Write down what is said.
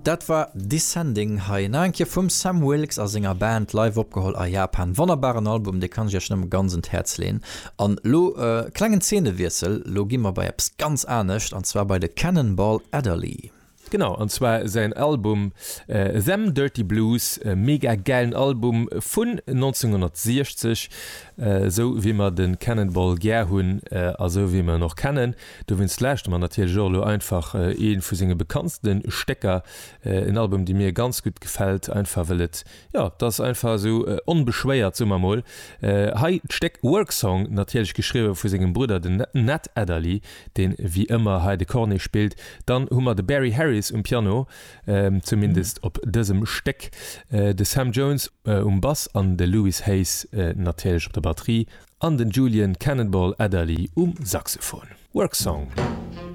Dat war Descending hei nach eng Kéier vum Sam Wilkes a senger Band live opgeholl a Japan. Wonnerbaren Album, dee kann ech iech nëmme ganz un d'Häerz leen. An lo klengen Zeenewiessel, lo gi mer bei eppes ganz anescht an zwar bei de Cannonball Adderley. Genau, an zwar säin Album Them Dirty Blues, e mega gäilen Album vun 1960, esou wéi mer de Cannonball gär hunn a sou wéi mer en och kennen. Dowéinst lauschtere mer natierlech och elo einfach ee vu senge bekanntste Stécker, en Album dee mir ganz gutt gefält, einfach well et, jo, et ass einfach esou onbeschwéiert, soe mer mol. Hei d'Stéck Work Song, natierlech geschriwwe vu sengem Brudder, den Nat Adderley, deen wéi ëmmer hei de Cornet spillt. Dann hu mer de Barry Harris um Piano, zumindest op dësem Stéck, de Sam Jones um Bass an de Louis Hayes natierlech op der Batterie an den Julian Cannonball Adderley um Saxophon. Work Song.